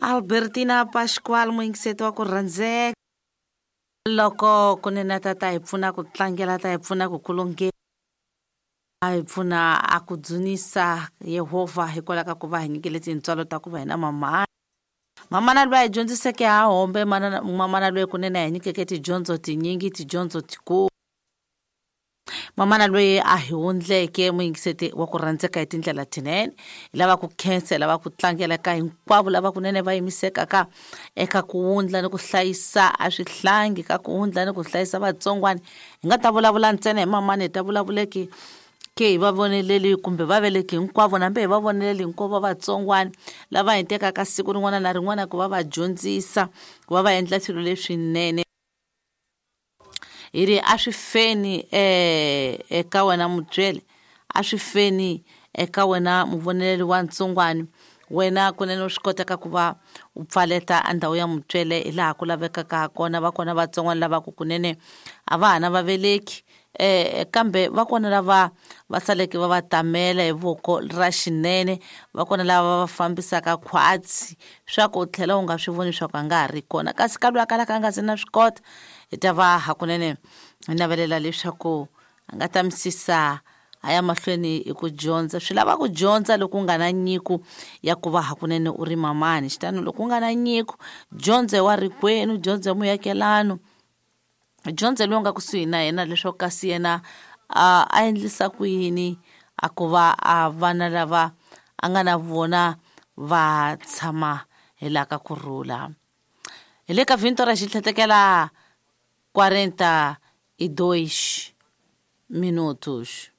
Albertina Pascual muyingiseti wa ku rhandzeka loko kunene ta ta hi pfuna ku tlangela ta hi pfuna ku kulunge a hi pfuna a ku dzunisa Yehovha hikwalaho ka ku va hi nyikele tintswalo ta ku va hina mamana mamana loyi a hi dyondziseke ha hombe mamana loyi kunene a hi nyikeke tidyondzo tinyingi tidyondzo tikulu Mamana loyi a hi wundleke muyingiseti wa ku rhandzeka hi tindlela tinene hi lava ku khensa hi lava ku tlangela ka hinkwavo lava kunene va yimisekaka eka ku wundla ni ku hlayisa a swihlangi ka ku wundla ni ku hlayisa vatsongwana hi nga ta vulavula ntsena hi mamana hi ta vulavuleki ke hi va voneleli kumbe va veleki hinkwavo nambe hi va voneleli hinkwavo vatsongwana lava hi tekaka siku rin'wana na rin'wana ku va va dyondzisa ku va va endla swilo leswinene Hi ri a swi feni eka wena mutsweri, a swi feni eka wena muvoneleli wa ntsongwani, wena kunene u swi kotaka ku va u pfaleta a ndhawu ya mutswele hi laha ku lavekaka ha kona. Va kona vatsongwana lava ku kunene a va ha na vaveleki kambe va kona lava va saleke va va tamela hi voko ra xinene, va kona lava va va fambisaka khwatsi swa ku u tlhela u nga swi voni swa ku a nga ha ri kona. Kasi ka loyi a kalaka a nga se na swi kota hi ta va hakunene hi navelela leswaku a nga ta misisa a ya mahlweni hi ku dyondza swi lava ku dyondza loko u nga na nyiko ya ku va hakunene u ri mamani xitano loko u nga na nyiko dyondza hi wa rikwenu dyondza hi muakelano dyondza loyi u nga kusuhi na yena leswaku kasi yena a a endlisa ku yini a ku va a vana lava a nga na vona va tshama hi laha ka kurhula. Hi le ka vhinto ra xitlhetekela 42 minutos.